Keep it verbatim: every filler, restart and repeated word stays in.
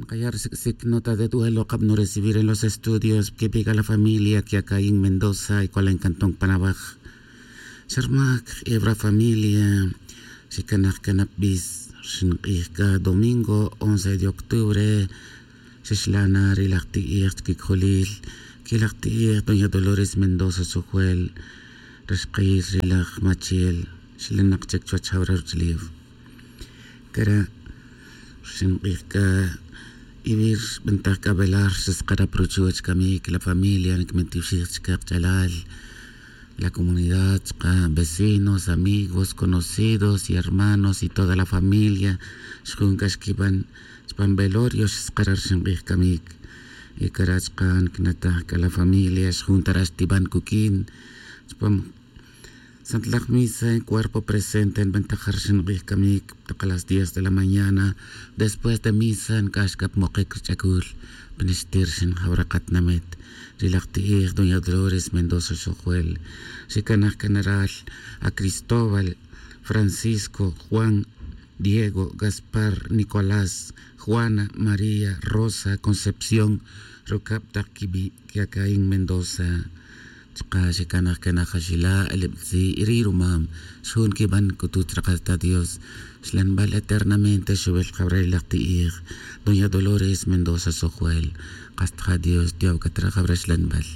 Kaya' rsic'sic nota de duelo kab nurecibir en los estudios kibik a la familia kiacaín mendoza y kualen cantón panabaj. Xarmaj kj'ibra familia. Xicanaj canab bis rxink'ij c'a domingo once de octubre. Xixlana ri laj ti'ij chquicjolil. Qui laj ti'ij doña dolores mendoza sojuel. Raxkil ri laj machiel. Xilanak chic chuwech jawra ruch'ulef. Cara' rxink'ij c'a y wi rbantaj c'a velar xiskarap ruchiwech camic la familia nicmentiwxij chica kach'alal, la comunidad chaka vecinos amigos conocidos y hermanos y toda la familia. Xjun c'a xquiban chupan velorio xiskarap rxink'ij camic. Y cara' chaka nicnataj c'a la familia xjun tara' xtiban cuq'uin chupan santlaj misa en cuerpo presente nbentajar xink'ij camic tak a las diez de la mañana. Después de misa nc'ax c'a pmokic rich'acul. Pinixtir xinjaw ri katinamit ri laj ti'ij doña dolores mendoza xojuel. Xicanaj canaral a cristóbal, francisco, juan, diego, gaspar, nicolás, juana, maría, rosa, concepción, rucab tak quibi' quiacaín mendoza. Chaka' xicanaj canaj axila' elebetzi' y ri' rumam xjun quiban c'utut ri kasta dios. Xlanbal eternamente xuwil kawra ri laj ti'ij doña dolores mendoza sojuel. Kasta ja dios tiyaw c'a tra kawra xlanbal.